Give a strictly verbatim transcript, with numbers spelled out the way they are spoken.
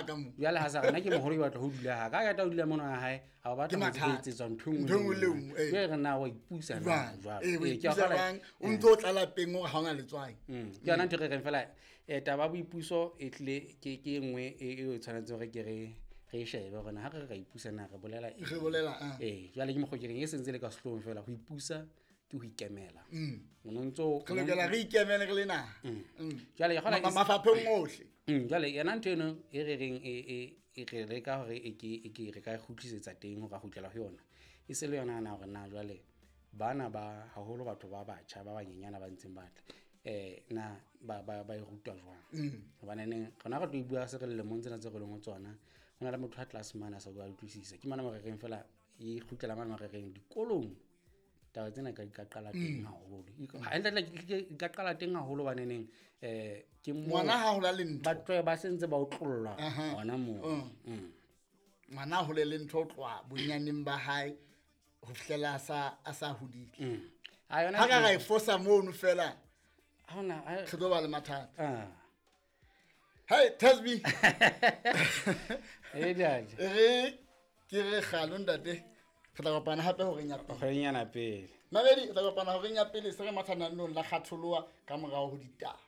ka mo. Jwale ha sa rena ke moholo ke batla ho dula ha ka ka tla ho dula mona ha hae a ba Ke batla ho mathata. etsetswa ntho e nngwe Ntho e nngwe le e nngwe, ee. jwale re na wa ipusa na Jwang? jwalo Ee, o Ee, ke a ipusa kgolwa- jwang? O ntso o tla lapeng hore ha ona letswai. Mm, ke yona ntho e re reng fela um taba ya boipuso e tlile ke ke e nngwe e e o tshwanetse hore ke re re e shebe hore na ha re re ra ipusa na re bolela eng. Re bolela, ah. Ee, jwale ke mokgwa ke reng e sentse le ka sehloohong fela ho ipusa ke ho ikemela o no ntso Re lokela re ikemele re le naha. Mm. Jwale ke kgolwa Ma- e se- mafapheng ohle. Mm, jwale yona ntho eno e re reng e e e re leka hore e ke e ke re ka e kgutlisetsa teng hore a kgutlela ho yona e se le yona na hore na jwale bana ba haholo batho ba batjha ba banyenyana ba ntseng ba tla eh na ba ba ba e rutwa jwang hobane neng rona re tlo e bua se re le lemong tsena tse re leng ho tsona ho na le motho a tlase mane a sa ka utlwisisa ke mona mo re reng fela e kgutlela mane mo re reng dikolong taba tsena ka di ka qala teng haholo hantle di ka qala teng haholo hobaneneng eh ke moo Ngwana ha hola le ntho. ba tlohe ba sentse ba otlollwa Aha. hona moo Mm. Mm. Ngwana ha hole le ntho ho tloha bonyaneng ba hae ho fihlela a sa a sa hodile. Mm. Ha yona Ha ka ra e fosa mono fela ha hona ha- re tlo ba le mathata. ah Hey Tasby. e dadi Re ke re kgalo ntate. Re tla kopana hape horeng ya pele. kgwedinyana pele Mamedi, re tla kopana horeng ya pele se re mathananong la kgatholoha ka morao ho ditaba.